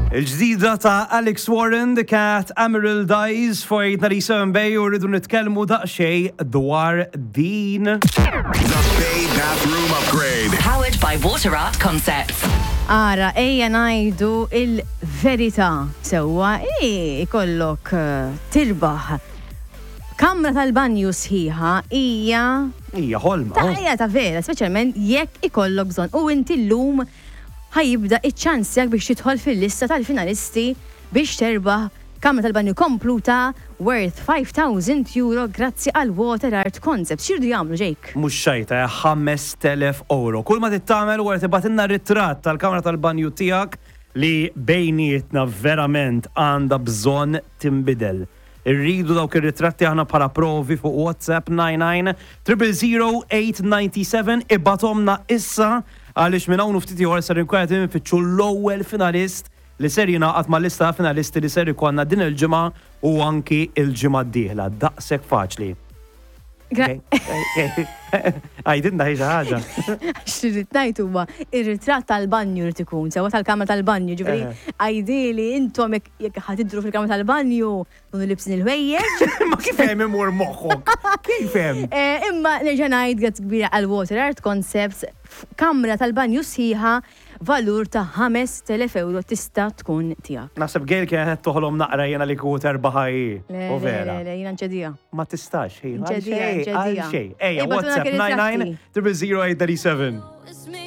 Il-ġdida ta' Alex Warren, The Cat, Emerald Eyes, for 897 Bay u rridu nitkellmu daqsxejn dwar din. The Bay Bathroom Upgrade. Powered by Water Art Concepts. Ara, ejja ngħidu il-verità. Sewwa, ikollok eh, tirbaħ kamra tal-banju sħiħa hija Hija ħolma. Ta' hija ta' vera, speċjalment jekk ikollok bżonn. U inti llum ħa jibda iċ-ċans tiegħek biex tidħol fil-lista tal-finalisti biex terbaħ kamra tal-banju kompluta worth 5,000 euro grazzi għal Water Art Concepts. X'iridu jagħmlu, Jake? Mhux xajta, eh, 5,000 euro. Kull ma trid tagħmel huwa li tibgħatilna ritratt tal-kamra tal-banju tiegħek li bejnietna verament għandha bżonn tinbidel. Irridu dawk ir-ritratti aħna bħala provi fuq WhatsApp 99 000 897 ibgħathomlna issa għaliex minn hawn u ftit ieħor ser inkun qed infittxu l-ewwel finalist li ser jingħaqad mal-lista ta' finalisti li ser ikollna din il-ġimgħa u anki l-ġimgħa d-dieħla. Daqshekk faċli. Għidilna hi xi ħaġa. X'irrid ngħid huwa ir-ritratt tal-banju rid ikun sewwa tal-kamra tal-banju, ġifieri għidili intom jekk ħa tidhru fil-kamra tal-banju tkunu libsin il-ħwejjeġ. Ma kif hemm imur moħħok? Kif hemm? Imma nerġa' ngħid grazzi kbira għal Water Art Concepts f'kamra tal-banju sħiħa valur ta' 5,000 euro tista' tkun tiegħek. Naħseb Gail kienet qed toħlom naqra jiena li kieku terbaħha hi. Le, U le, vera. le, le, jiena nċediha. Ma tistax, hi. Nċediha, nċediha. Għal xejn. Ejja, Ibgħatulna WhatsApp kien 99 ritratti. 000 837.